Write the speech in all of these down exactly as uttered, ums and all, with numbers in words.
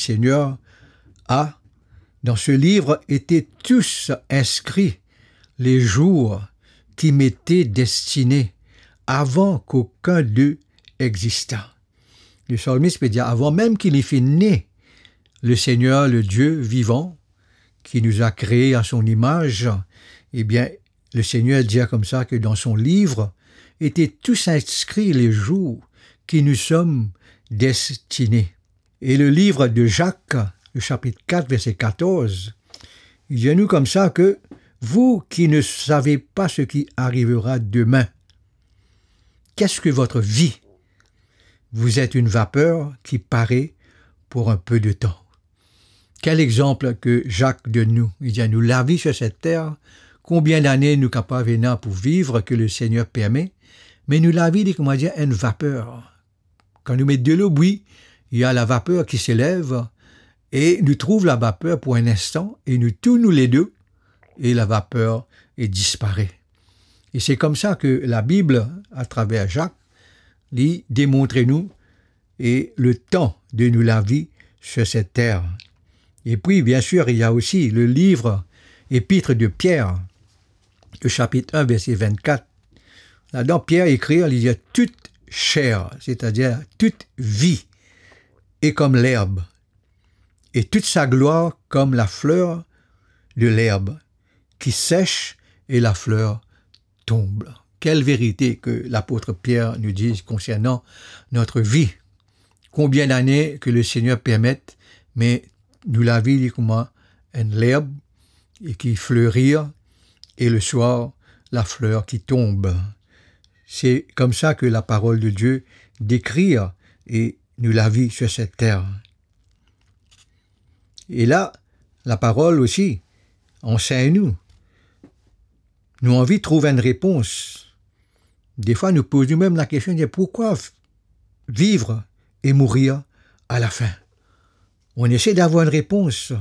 Seigneur a, dans ce livre étaient tous inscrits les jours qui m'étaient destinés avant qu'aucun d'eux existât. Le psalmiste peut dire, avant même qu'il ait fait naître le Seigneur, le Dieu vivant, qui nous a créés à son image, eh bien, le Seigneur dit comme ça que dans son livre étaient tous inscrits les jours qui nous sommes destinés. Et le livre de Jacques, le chapitre quatre, verset quatorze, il dit à nous comme ça que vous qui ne savez pas ce qui arrivera demain, qu'est-ce que votre vie ? Vous êtes une vapeur qui paraît pour un peu de temps. Kel exanp ki Zak donn nou? Li dir nou lavi sur cette terre, konbien dane nou kapav ena pou viv ki Lesegner permet, me nou lavi li, kouma dir, enn vaper. Kan nou met delo bwi, il y a la vapeur qui s'élève, e nou trouv la vapeur pou enn instan, e nou tou nou lede, e la vapeur e dispare. E se koumsa ki Labib, atraver Zak, li demontre nou e le tan de nou lavi sur cette terre. Et puis, bien sûr, il y a aussi le livre épître de Pierre, le chapitre un, verset vingt-quatre. Ladan, Pier ekrir, li dir, toute chair, c'est-à-dire toute vie, est comme l'herbe, et toute sa gloire comme la fleur de l'herbe, qui sèche et la fleur tombe. Kel verite ki lapot Pier nou dir konsernan notre vie. Konbien dane ki Lesegner permet, me nou lavi li kouma enn lerb e ki flerir, e le soir, la fleur qui tombe. Se koumsa ki la parole de Dieu dekrir e nou lavi sur cette terre. E la, la parole osi ansegn nou. Nou anvi trouv enn repons. Defwa, nou poz nou mem la kestion, dir, pourquoi v-, vivre et mourir à la fin? On essaie d'avoir une réponse.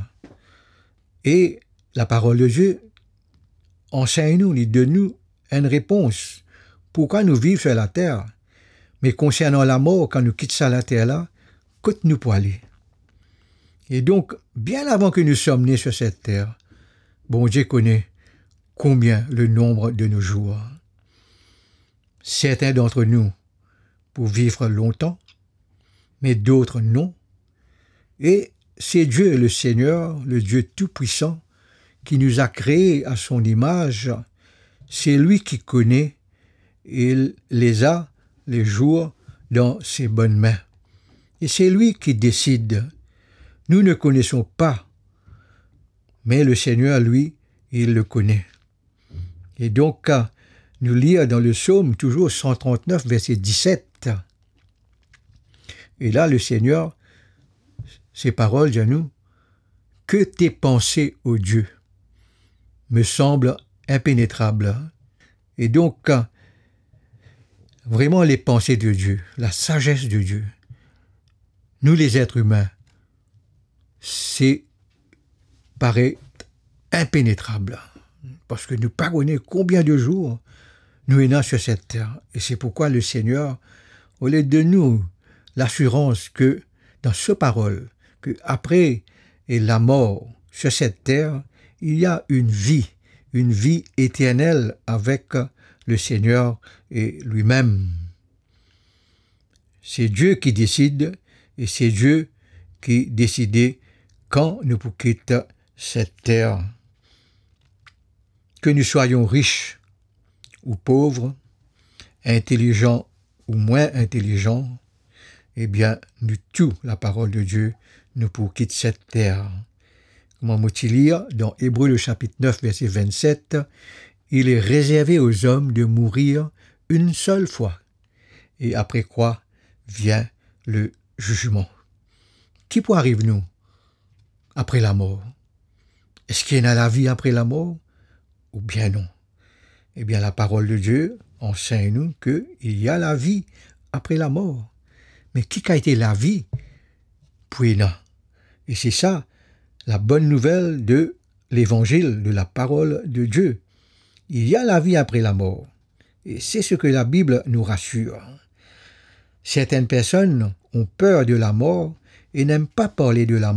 Et la parole de Dieu ansegn nou, li donn nou enn repons. Pourquoi nou viv sur la terre? Me konsernan lamor, kan nou kit sa later la, kot nou pou ale? E donk, bien avan ki nou som ne sur cette terre, Bondie kone konbien le nombre de nos jours. Certains d'entre nous pour vivre longtemps, mais d'autres non. Et c'est Dieu, le Seigneur, le Dieu Tout-Puissant, qui nous a créés à son image, c'est lui qui connaît et les a les jours dans ses bonnes mains. Et c'est lui qui décide. Nous ne connaissons pas, mais le Seigneur, lui, il le connaît. Et donc, euh, nous lire dans le psaume, toujours cent trente-neuf, verset dix-sept. Et là, le Seigneur, ses paroles, dit à nous, que tes pensées, ô Dieu, me semblent impénétrables. Et donc, euh, vraiment, les pensées de Dieu, la sagesse de Dieu, nous les êtres humains, c'est paraît impénétrable, parski nou pa kone konbien de zour nou ena sur cette terre. E se pourkwa Lesegner, olie donn nou lasirans ki dan so parol, ki apre lamor sur cette terre, il y a une vie, une vie éternelle avec le Seigneur et lui-même. Se Die ki desid e se Die ki deside kan nou pou kit set ter. Ke nou swayon rich ou pov, intelizan ou mwin intelizan, ebien, nou tou, laparol de Die, nou pou kit set ter. Kouma mo ti lir dan Ebre, le chapitre neuf, verset vingt-sept, il est réservé aux hommes de mourir une seule fois, et après quoi vient le jugement. Ki pou ariv nou apre lamor? Eski ena lavi apre lamor oubien non? Ebien, laparol de Die ansegn nou ke il y a la vie après la mort. Me ki kalite lavi pou ena? E se sa, la bonne nouvelle de l'évangile, de la parole de Dieu. Il y a la vie après la mort. Et c'est ce que la Bible nous rassure. Certaines personnes ont peur de la mort et n'aiment pas parler de la